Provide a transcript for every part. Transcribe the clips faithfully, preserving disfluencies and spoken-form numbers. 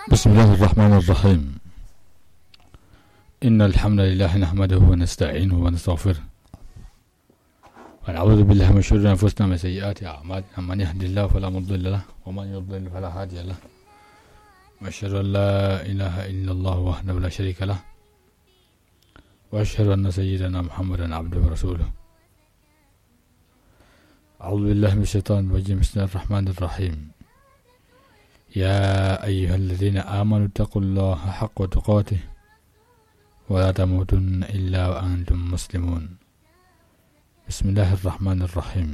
بسم الله الرحمن الرحيم. إن الحمد لله نحمده ونستعينه ونستغفره، ونعوذ بالله من شرور أنفسنا ومن سيئات أعمالنا. من يهد الله فلا مضل له، ومن يضلل فلا هادي له. وأشهد أن لا إله إلا الله وحده لا شريك له، وأشهد أن سيدنا محمدا عبده ورسوله. أعوذ بالله من الشيطان الرجيم. بسم الله الرحمن الرحيم. يا أيها الذين آمنوا اتقوا الله حق تقاته ولا تموتن إلا وأنتم مسلمون. بسم الله الرحمن الرحيم.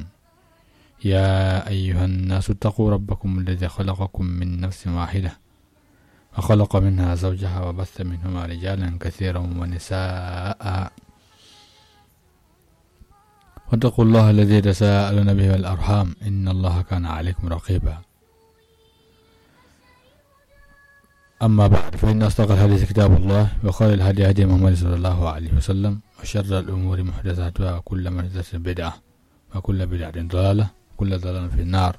يا أيها الناس اتقوا ربكم الذي خلقكم من نفس واحدة وخلق منها زوجها وبث منهما رجالا كثيرا ونساء، واتقوا الله الذي تساءلون به والأرحام، إن الله كان عليكم رقيبا. أما بعد، فإن أصدق الحديث كتاب الله، وخير الهدي هدي محمد صلى الله عليه وسلم، وشر الأمور محدثاتها، وكل محدثة بدعة، وكل بدعة ضلالة، وكل ضلالة في النار.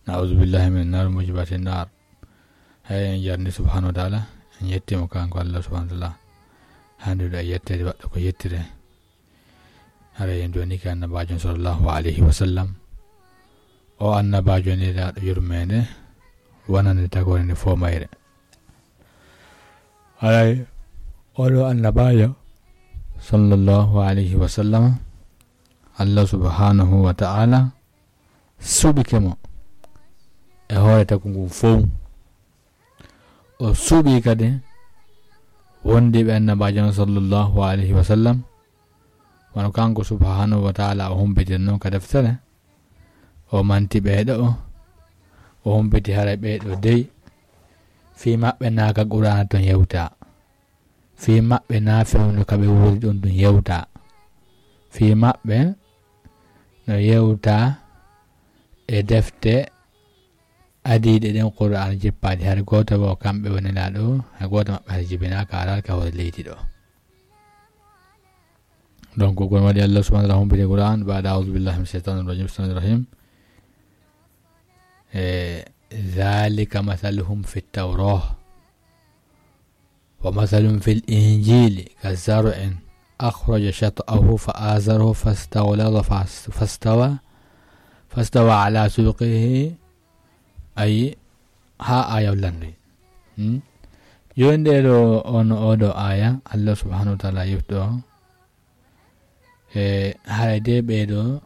نعوذ بالله من النار وموجبات النار. Hay en jarni subhanahu wa ta'ala, en yettimo kanko Allah subhanahu wa ta'ala. Handuɗo e yettede waɗɗo ko yettire. Haray en donike annabajo sallallahu alayhi wa sallam. O annabajo nelaɗo yurmede, wonande tagore nde fo mayre. Haray oɗo annabajo sallallahu alayhi wa sallam, Allah subhanahu wa ta'ala suɓike mo e hoore tagu ngu fow. O suɓi kadi wondiɓe annabajo on sallallahu alayhi wa sallam, wano kanko subhanahu wa ta'ala o humbitir non ka deftere. O manti ɓeeɗo o, o humbiti haray ɓeeɗo dey. Fii maɓɓe naa ka Qur'aana ton yewta. Fii maɓɓe naa fewndo ka ɓe wuuri ɗon ɗum yewta. Fii maɓɓe no yewta e defte adiiɗe ɗen Qur'aana jippaaɗe. Hari gooto wo kamɓe woni laaɗo, hay gooto maɓɓe hari jibinaaka, araaka hoore leydi ɗo. Donc, ko ɗum waɗi Allah subhanahu wa ta'ala humbiti Qur'aan, بعد أعوذ بالله من الشيطان الرجيم، بسم الله الرحمن الرحيم. Eh, ذلك مثلهم في التوراة ومثلهم في الإنجيل كزرع أخرج شطأه فآزره فاستغلظ فاس-، فاستوى، فاستوى على سوقه. Ayi, haa aya on lanndii. Hmm? Jooni ɗee ɗoo, on, oo ɗoo aya, Allah subhanahu wa ta'ala yewti ɗoo. E, haray dee ɓee ɗoo,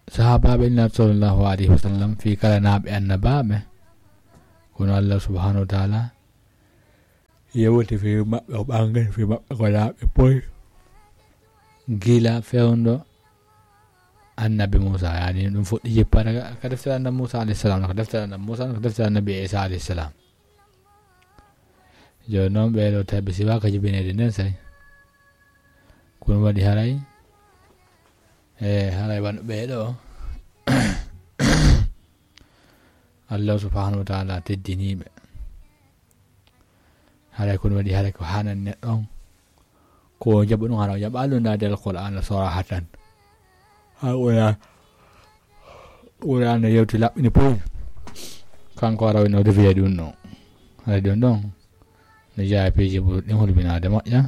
sahaabaaɓe Nulaaɗo sallallahu alayhi wa sallam, fii kala naaɓe annabaaɓe, kono Allah subhanahu wa ta'ala yewti fii maɓɓe, o ɓanngini fii maɓɓe ko naaɓe poy. Gila fewndo annabi Muusa, yaani ɗum fuɗɗi jippaade ka, ka deftere annabi Muusa alayhi salam, ka deftere annabi Muusa, ka deftere annabi Iisa alayhi salam. Jooni noon ɓee ɗoo tabi siwaa ka jibineede nden say. Ko ɗum waɗi haray, e haray wano ɓee ɗoo, Allah subhanahu wa ta'ala teddinii ɓe. Haray ko ɗum waɗi, haray ko hanan neɗɗo on, ko o jaɓa ɗum, hara o jaɓa ɗum naade Alqur'aana sarahatan. Ha Qur'aana, Qur'aana yewti laɓɓini poy. Kanko ara wino defiya ɗum ɗon. Haray ɗum ɗon, no jeyaa e piiji ɓurɗi ɗin hulɓinaade moƴƴa.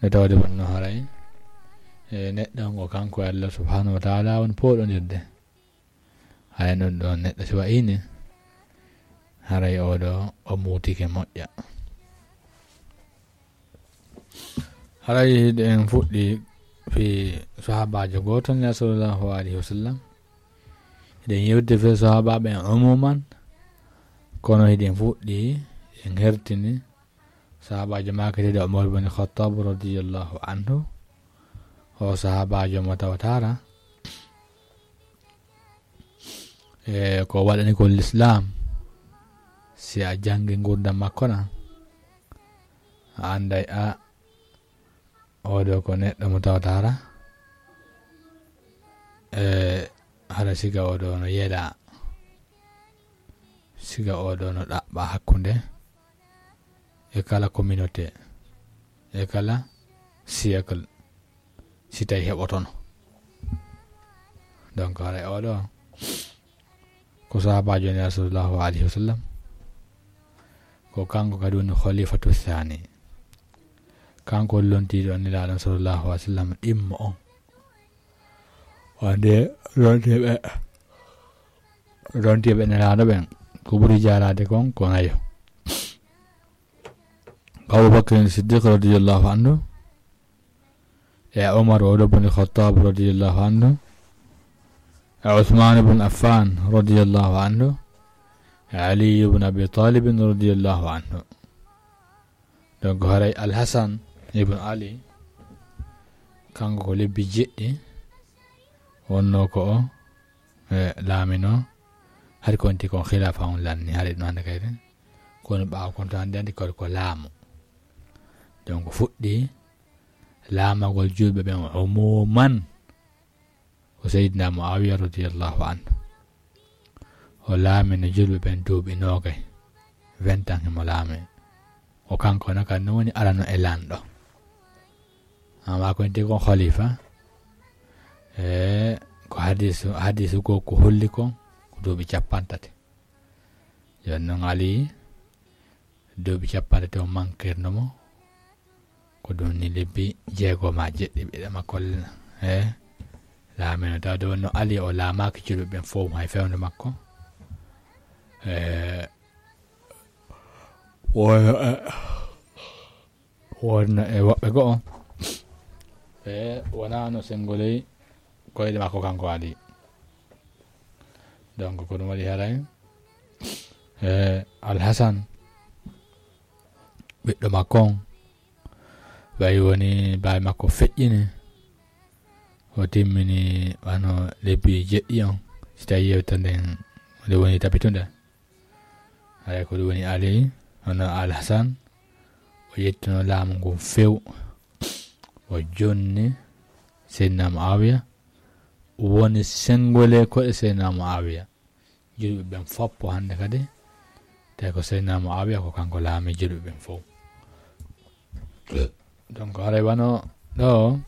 No tawde wonno haray, e neɗɗo on ko kanko e Allah subhanahu wa ta'ala woni pooɗondirde. Haray ɗum ɗon neɗɗo si wa'iini, haray oo ɗoo o muutike moƴƴa. Haray hiɗen fuɗɗi fii sahaabaajo gooto Nulaaɗo sallallahu alayhi wa sallam. Hiɗen yewtide fii sahaabaaɓe en umuman, kono hiɗen fuɗɗi, en hertini sahaabaajo maaketee ɗo Umar bin Khattab radiyallahu anhu. O sahaabaajo mo tawata hara, e, ko waɗani ko Lislaam, si a janngi ngurdam makko na, a annday a, oo ɗoo ko neɗɗo mo tawata hara, e, hara siga oo ɗoo no yeɗa, siga oo ɗoo no ɗaɓɓa hakkunde e kala communauté, e kala siècle, si tawi heɓotono. Donc, haray oo ɗoo ko sahaabaajo Nulaaɗo sallallahu alayhi wa sallam, Ko kanko kadi woni khalifatu thani. Kanko woni lontiiɗo Nelaaɗo sallallahu alaihi wasallam ɗimmo on. Wonde rontiiɓe, rontiiɓe Nelaaɗo ɓen, ko ɓuri jaaraade kon ko nayo. Ko Abu Bakr Siddiq radiyallahu anhu, e Umar o ɗo boni Khattab radiyallahu anhu, e Uthman ibn Affan radiyallahu anhu, e Ali ibn Abi Talib radiyallahu anhu. Donc, haray Al-Hasan ibn Ali, kanko ko lebbi jeɗɗi wonno ko o, e, laamino. Hari ko wonti kon khilafa on lanni, hari ɗum hannde kayre. Kono ɓaawo kon to hannde anndi ko, ko laamu. Donc, fuɗɗi laamagol julɓe ɓen umuman ko Seydina Muawiya radiyallahu anhu. O laamino julɓe ɓen duuɓi noogay, vingt ans himo laami. O kanko no kan woni arano e lanɗo. Amma ko nti kon khalifa, e, ko hadisu, hadisu ko, ko holli kon, ko duuɓi cappanɗe tati. Yon non Ali, duuɓi cappanɗe tati o mankirno mo, ko ɗum ni lebbi jeego ma jeɗɗi ɓiɗɗo makko, e, laamino. Tawde wonno Ali o laamaaki julɓe ɓen fof hay fewndo makko. E, wonno, e, wonno e woɓɓe go'o. E, wonano sengoley koyɗe makko kanko Ali. Donc, ko ɗum waɗi haray, e, Al-Hasan, ɓiɗɗo makko on, ɓay woni baay makko feƴƴini, o timmini wano lebbi jeɗɗi on, si tawi yewtere nden nde woni tabitunde. Haray ko ɗum woni Ali, hono Al Hasan, o yettuno laamu ngun few, o jonni Seydina Muawiya, woni sengole koɗe Seydina Muawiya. Julɓe ɓen foppo hannde kadi, tawi ko Seydina Muawiya ko kanko laami julɓe ɓen fof. Donc, haray wano ɗo,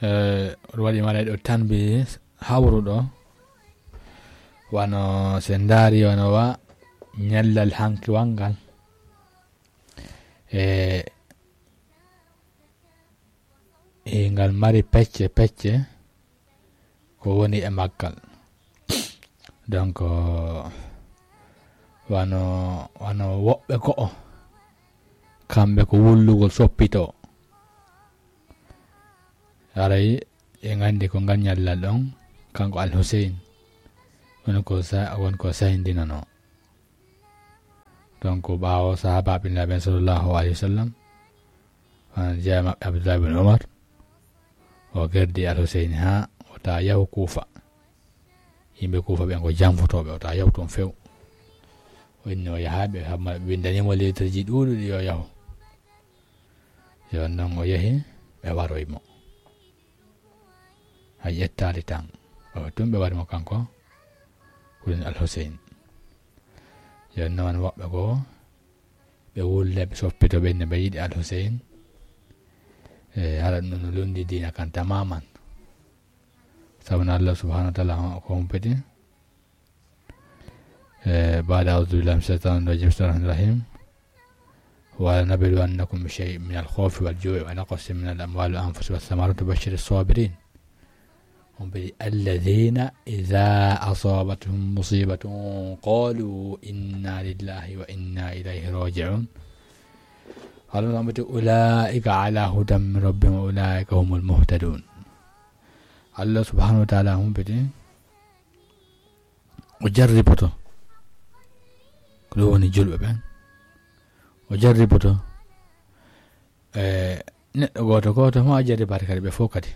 eh, ɗum waɗi mara ɗo tanbi hawruɗo, wano se ndaari wano wa ñallal hanki wanngal, e, e ngal mari pecce pecce, ko woni e maggal. Donc, wano, wano woɓɓe go'o, kamɓe ko wullugol soppito. Haray en nganndi ko ngal ñallal ɗon, kanko Al Huseyn, woni ko sa-, woni ko sayndinano. Donc, ɓaawo sahaabaaɓe Nulaaɓe ɓen sallallahu alayhi wa sallam, wano jeyaa maɓɓe Abdullah ibn Umar, o gerdi Al Huseyn haa o ta yahu Kuufa. Yimɓe Kuufa ɓen ko janfotooɓe, o ta yahu toon few. O inni o yahaa ɓe, hamma ɓe winndanii mo lettre ji ɗuuɗuɗi yo yahu. Yo non o yahi, ɓe waroyi mo. Hay ƴettaali tan. O tun ɓe wari mo kanko, ko woni Al Huseyn. Yo non woɓɓe goo, ɓe wulle, ɓe soppito ɓe, ne ɓe yiɗi Al Huseyn. E, hara ɗum no lundi diina kan tamaman. Sabu no Allah subhanahu wa ta'ala ko humpiti. Eh, بعد أعوذ بالله من الشيطان الرجيم. بسم الله الرحمن الرحيم. ولنبلونكم بشيء من الخوف والجوع ونقص من الأموال والأنفس والثمرات وبشر الصابرين. الذين إذا أصابتهم مصيبة قالوا إنا لله وإنا إليه راجعون. أولئك على هدى من ربهم وأولئك هم المهتدون. Allah subhanahu wa ta'ala humpiti. O jarriboto. Ko ɗum woni julɓe ɓen. O jarriboto. E, neɗɗo gooto gooto ma o jarribaade kadi ɓe fof kadi.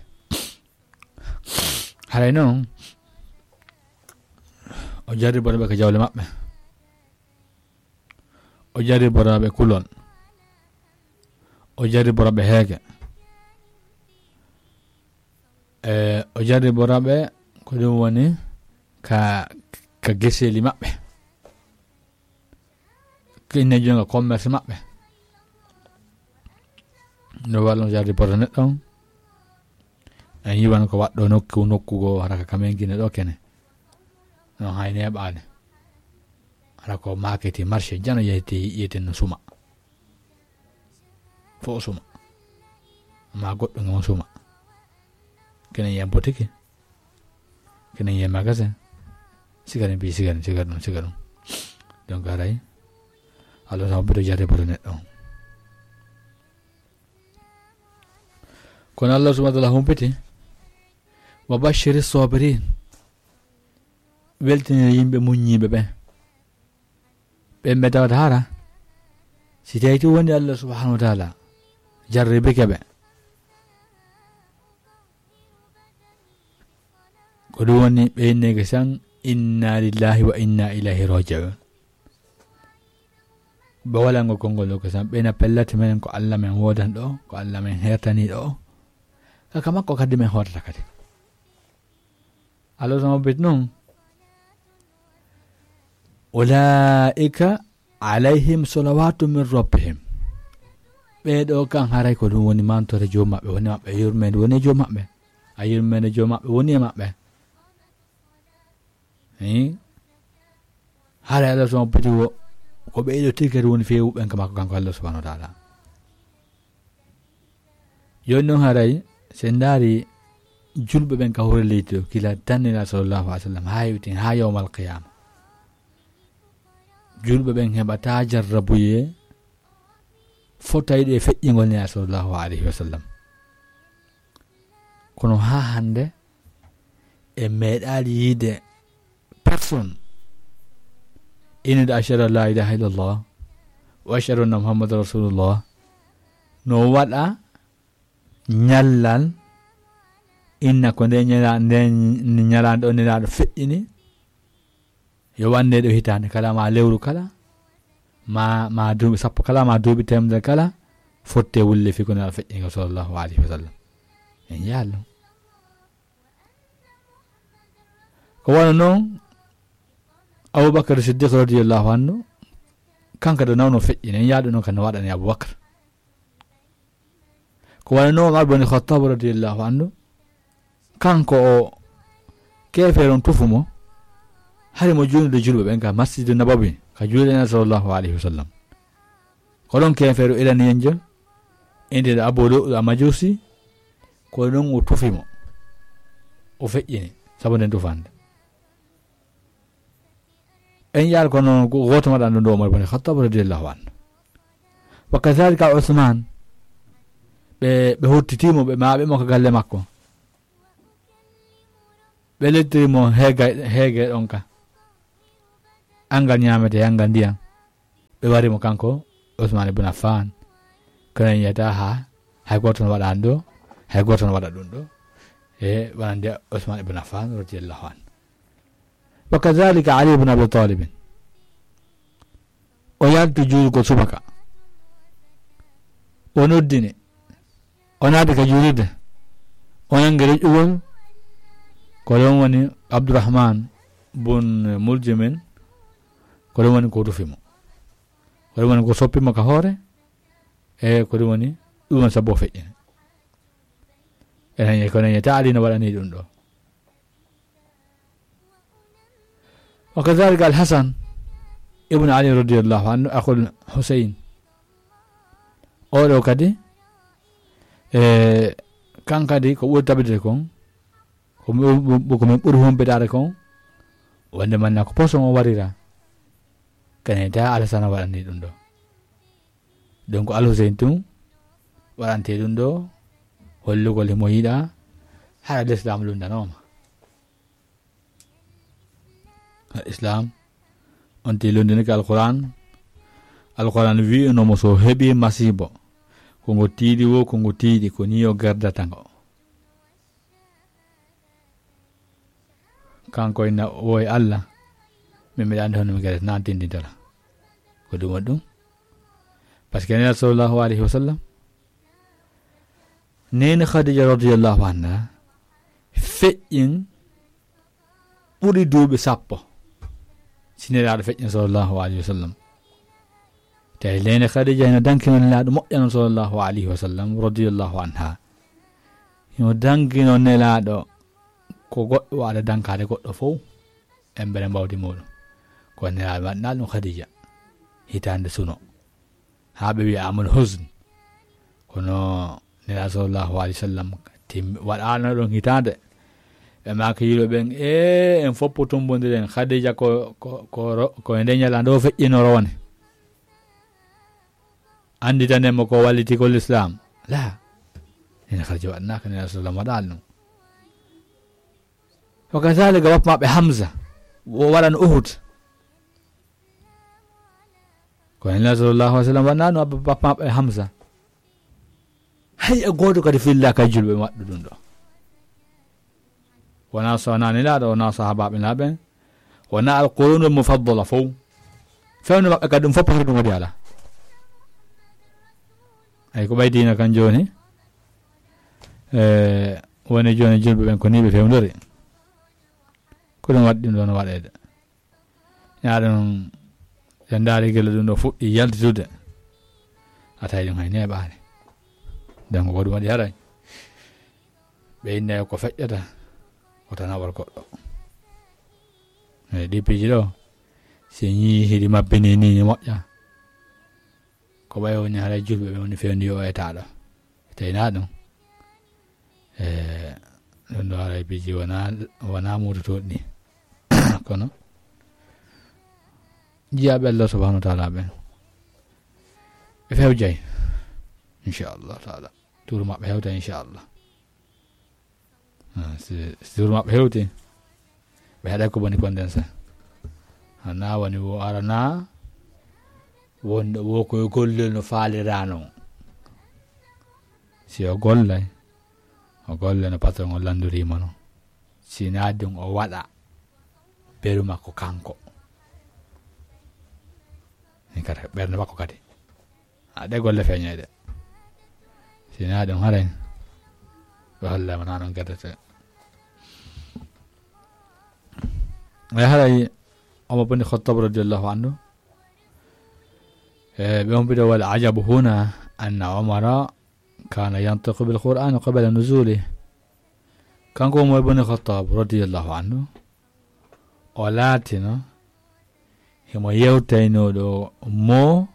Haray noon, o jarriboto ɓe ko jawle maɓɓe. O jarriboto ɓe kulol. O jarriboto ɓe heege. E, o jarriboto ɓe ko ɗum woni ka, ka geseeli maɓɓe. Ka inne jonga commerce maɓɓe. No wallo jarriboto neɗɗo on. En yiwan ko waɗɗo nokku, nokku goo hara ka kamen Gine ɗo kene. No hay neeɓaani. Hara ko maketi marché jano yeti yeten no suma. Fo suma. Ma goɗɗo ngam suma. Kenen ya botiki. Kenen ya magasin. Sigarin bi sigarin sigarin sigarin. Donc haray. Allah sama bito jare bito neɗɗo. Kono Allah subhanahu wa ta'ala humpiti. Wa bashiri sabirin. Weltinira yimɓe muññiiɓe ɓe. Ɓe ɓe tawata hara. Si tawi tun woni Allah subhanahu wa ta'ala jarribike ɓe. Ko ɗum woni ɓe inneke san inna lillahi wa inna ilayhi raji'un. Ɓe walango konngol ɗo ko san ɓe na pellati menen ko Allah men wodan ɗo, ko Allah men hertani ɗo. Kaka makko kadi men hotata kadi. Allah sama bet non. Ulaika alayhim salawatu min rabbihim. Ɓeɗo kan haray ko ɗum woni mantore joom maɓɓe, woni maɓɓe yurmende, woni joom maɓɓe. A yurmende joom maɓɓe, woni e maɓɓe. Hi? Haray Allah sama beti wo, ko ɓe ɗo tirkere woni fewu ɓen ka makko kanko Allah subhanahu wa ta'ala. Joni non haray, se ndaari julɓe ɓen ka hoore leydi o, kila dannila sallallahu alaihi wasallam, haa yewtin, haa yawmal qiyama. Julɓe ɓen heɓata jarrabuye fotayɗe e feƴƴingol nela sallallahu alaihi wasallam. Kono haa hande, e meeɗaali yiide personne. Innude ashhadu an la ilaha illallah, wa ashhadu anna Muhammadan rasulullah. No waɗa ñallal, inna ko nde ñala-, nde ñalaande o nelaaɗo feƴƴini, yo wande ɗo hitaande kala, ma lewru kala, ma, ma duuɓi sappo kala, ma duuɓi teemedere kala, fotte wulle fi ko nelaaɗo feƴƴini ko sallallahu alaihi wasallam. En yaalno. Ko wano non, Abubakar Siddiq radiyallahu anhu, kanko ɗo nawno feƴƴini, en yaadu non kan no waɗani Abubakar. Ko wano non Umar bin Khattab radiyallahu anhu, kanko o keefeero on tufu mo, hari mo juulnude julɓe ɓen ka Masjidu Nabawi, ka juulde Nela sallallahu alaihi wasallam. Ko ɗon keefeero iraniyenjo, innde Abu Lu'lu al-Majusi, ko ɗon o tufi mo. O feƴƴini, sabu nden tufande. En yaar kono go-, gooto waɗan ɗum ɗo Umar bin Khattab radiyallahu anhu. Wa kadhalika Usman, ɓe, ɓe hottiti mo, ɓe maaɓe mo ka galle makko. Ɓe lettiri mo heega, heege ɗon ka. Angal ñaamete, angal ndiyam. Ɓe wari mo kanko Usman ibn Affan. Kono en yiyata ha, hay gooto no waɗa ɗo, hay gooto no waɗa ɗum ɗo. E wonande Usman ibn Affan radiyallahu anhu. Wa kadhalika Ali ibn Abi Talib. O yalti juulugol subaka. O noddini. O naati ka juulirde. O nangi reƴƴugol. Ko ɗon woni Abdurrahman bun Muljimin. Ko ɗon woni ko rufi mo. Ko ɗon woni ko soppi mo ka hoore. E ko ɗum woni, ɗum woni sabu o feƴƴini. Enen e kono en taali no waɗani ɗum ɗo. Wa kadhalika Al-Hasan ibn Ali radiyallahu anhu, akhul Husayn. Oɗo kadi, e, kan kadi ko ɓuri tabitde kon, ko mi, ko min ɓuri humpitaade kon, wonde manna ko poson o warira. Kene ta Al-Hasan waɗani ɗum ɗo. Donc Al-Husayn tun waɗante ɗum ɗo, hollugol himo yiɗa, hara l'islam lundanooma. Al-Islam, on ti lundinike Al-Qur'an. Al-Qur'an wi'uno mo so heɓi masiibo, ko ngo tiiɗi wo, ko ngo tiiɗi, ko ni o gerdata ngo. Kanko ina woy Allah, min mbiɗa anndi hono mi gere nan tindintala. Ko ɗum waɗi ɗum. Parce que Nela sallallahu alayhi wa sallam, Neene Khadija radiyallahu anha feƴƴin ɓuri duuɓi sappo. Si Nelaaɗo feƴƴin sallallahu alayhi wa sallam. Tawi Neene Khadija ina dankino Nelaaɗo moƴƴano sallallahu alayhi wa sallam radiyallahu anha. Hino dankino Nelaaɗo ko goɗɗo waɗa dankaade goɗɗo fof. Embere mbawdi muɗum. Kono Nelaaɗo waɗna ɗum Khadija, hitaande suno, haa ɓe wiya amul husn. Kono Nelaaɗo sallallahu alayhi wa sallam tim-, waɗaano ɗon hitaande. Ɓe maaki yiɗo ɓen, "E, en fof tumbondiren. Khadija ko, ko, ko ro-, ko e nde ñalande o feƴƴinoro woni. Annditanen mo ko walliti ko Lislaam." La. Ene Khadija waɗnaaka, Nelaaɗo sallam waɗaali ɗum. Wa kazalika bappa maɓɓe Hamza, o waɗan Uhud. Ko Nelaaɗo sallallahu alayhi wa sallam waɗnaano bappa maɓɓe Hamza. Hay e gooto kadi fillaaka e julɓe waɗɗo ɗum ɗo. Wonaa so wonaa Nelaaɗo, wonaa sahaabaaɓe Nelaaɓe, wonaa al qurunul mufaddala fof. Fewndo maɓɓe kadi ɗum fof ko ɗum waɗi alaa. Ay ko ɓay diina kan jooni. E, woni jooni julɓe ɓen ko nii ɓe fewndori. Ko ɗum waɗi ɗum ɗoon waɗeede. Yaa ɗum, ɓe ndaari gila ɗum ɗo fuɗɗi yaltitude. A tawi ɗum hay neeɓaani. Donc ko ɗum waɗi haray. Ɓe inna ko feƴƴata, ko tan nawal goɗɗo. E ɗi piiji ɗo, si ñii hiɗi mabbini ni, ni moƴƴa. Ko ɓay woni haray julɓe ɓe woni fewndi o etaaɗo. Teyna ɗum. E, ɗum ɗo haray piiji wona, wona muutotooɗi ni. Kono, jiyaaɓe Allah subhanahu wa taala ɓen. Ɓe fewjay. Inchallah taala. Tuuru maɓɓe hewta inchallah. Ah, si, si tuuru maɓɓe hewti, ɓe haɗay ko boni kon nden sa. Hana woni wo arana, wonɗo wo ko gollel no faalirano. Si o gollay, o golle no patron o landuriima non. Si naa ɗum o waɗa beru makko kanko. Ni kadi ɓernde makko kadi. A ɗe golle feeñay de. Si naa ɗum haray, ɓe hollama naa non gardete. Ay haray, Omar bin Khattab radiyallahu anhu, e, ɓe on mbiɗo wal ajabu huna anna Omara kana yantiqu bil Qur'ani qabla nuzuli. Kanko Umar bin Khattab radiyallahu anhu, o laatino himo yewtaynooɗo mo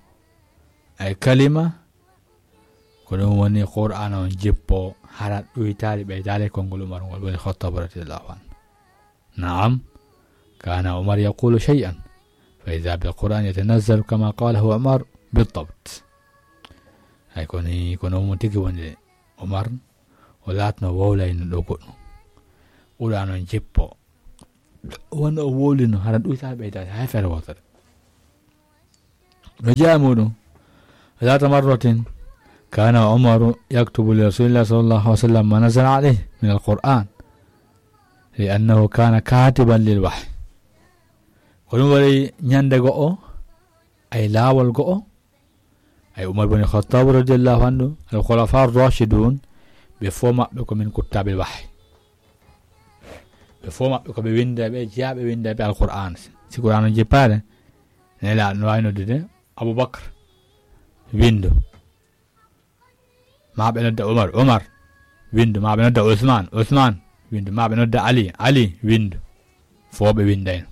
ay kalima, ko ɗum woni Qur'aana on jippo hara ɗuytaali ɓeytaali konngol Umar ngol woni Khattab radiyallahu anhu. Naam, kana Umar yaqulu shay'an, fa idha bil Qur'an yatanazzalu kama qalahu Umar bidabt. Ay ko ni, kono mo tigi woni Umar, o laatno wowlayno ɗo goɗɗum. Qur'aana on jippo. Wonno o wowlino, hara ɗuytaali ɓeytaali, hay feere wootere. No jeyaa muɗum, ذات مرة كان عمر يكتب لرسول الله صلى الله عليه وسلم ما نزل عليه من القرآن، لأنه كان كاتبا للوحي. Ko ɗum waɗi ñande go'o, ay laawol go'o, ay Umar bin Khattab radiyallahu anhu, al khulafa ar-rashidun, ɓe fof maɓɓe ko min kuttabil wahyi. Ɓe fof maɓɓe ko ɓe winnda, ɓe jeyaa ɓe winnda ɓe Alqur'aan. Si Qur'aan on jippaade, Nelaaɗo no waawi noddude Abubakar, winndu. Ma ɓe nodda Umar, Umar, winndu. Ma ɓe nodda Usmaan, Usmaan, winndu. Ma ɓe nodda Ali, Ali, winndu. Fof ɓe winndayno.